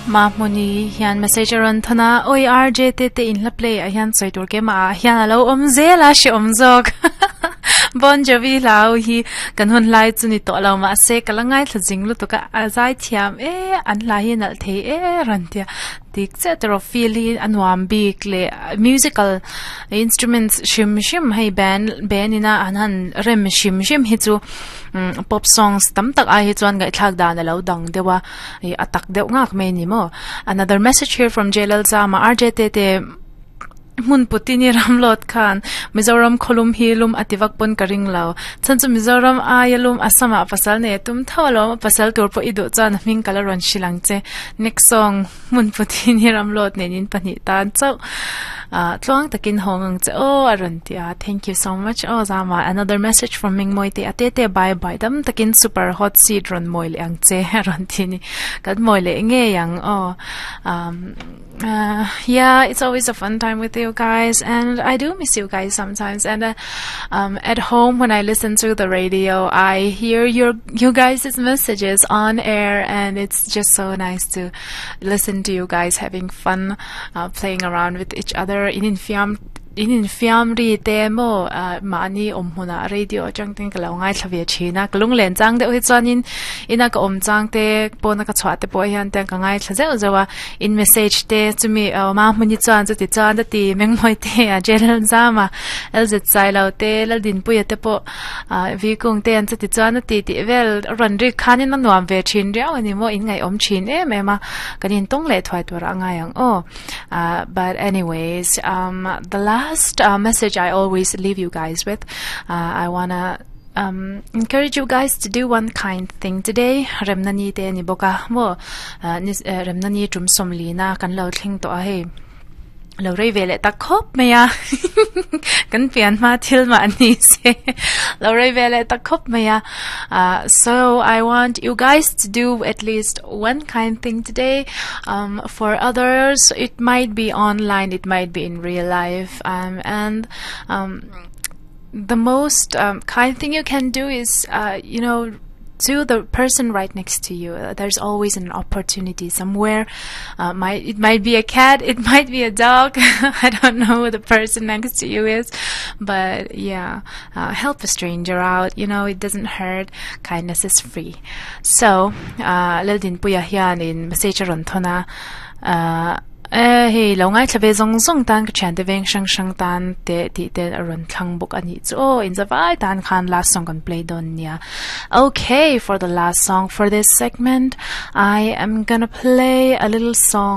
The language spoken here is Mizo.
Mahmuni hian message a rawn thawn a, Awi RJ te te in hla play ah hian sawi tur keimah ah hian a lo awm zel a hre awm zawk. Bon Jovi hla ho hi kan hun lai chu ni tawh lo mahse ka la ngaithla zing lutuk a, a zai thiam e, an hla hi a nalh thei e rawn tia. Dik chiah tawrh feel hi a nuam bik leh musical instruments hrim hrim hei band band ina an han rem hrim hrim hi chu pop songs tam tak ai hi chuan ngaihthlak dan a lo dang deuh a ih a tak deuh ngak mai a ni maw another message here from J Lalzama R J te te hmun putin i ram lawt khan Mizoram khawlum hi lum a ti vak pawn ka ring lo chhan chu Mizoram aia lum Assam ah pasal nei a tum tho alawm a pasal tur pawh i duh chuan a hming ka la rawn hrilh ang che next song hmun putin i ram lawt nen in pahnih tan chauh ah tluang takin hawng ang che aw a rawn ti a thank you so much aw zama another message from Mingmawi te a te te bye bye dam takin super hot seat rawn mawi leh ang che a rawn ti a ni kan mawi leh ngei ang aw um. Uh, yeah, it's always a fun time with you guys, and I do miss you guys sometimes. And uh, um, at home, when I listen to the radio, I hear your you guys' messages on air, and it's just so nice to listen to you guys having fun, uh, playing around with each other in infiam In infiam ri te maw mahni awm hmunah radio atang ten ka lo ngaithla ve thin a, ka lunglen chang deuh hi chuanin ina ka awm chang te pawna ka chhuah te pawh hian te ka ngaithla zeuh zeuh a, in message te chumi awm a hmuni chuan chuti chuan a ti mengmawi te a J Lalzama L Z Sailo te Laldinpuia te pawh Vi Kung te an chuti chuan a ti tih vel a rawn rik khanin a nuam ve thin riau a ni maw in ngaihawm thin em em a, kan intawng leh thuai turah a ngai ang aw. Uh, but anyways, um, the last uh, message I always leave you guys with, uh, I wanna um, encourage you guys to do one kind thing today. Remna ni te ni boka mo uh, ni uh, remna ni tum som li na kan lo thling to a hei lo rei ve leh tak khawp mai a kan pian hma thil mah ni se lo rei ve leh tak khawp mai a uh, so I want you guys to do at least one kind thing today um, for others it might be online it might be in real life um, and um, the most um, kind thing you can do is uh, you know to the person right next to you. Uh, there's always an opportunity somewhere. Uh, might, it might be a cat, it might be a dog. I don't know who the person next to you is, but yeah, uh, help a stranger out. You know, it doesn't hurt. Kindness is free. So, uh, Laldinpuia hianin message a rawn thawn a, uh, eh hei lo ngaithla ve zawng zawng tan ka thiante veng hrang hrang tan te tih te a rawn thlang bawk a nih chu aw inzavai tan khan last song kan play dawn nia. Okay, for the last song for this segment, I am gonna play a little song.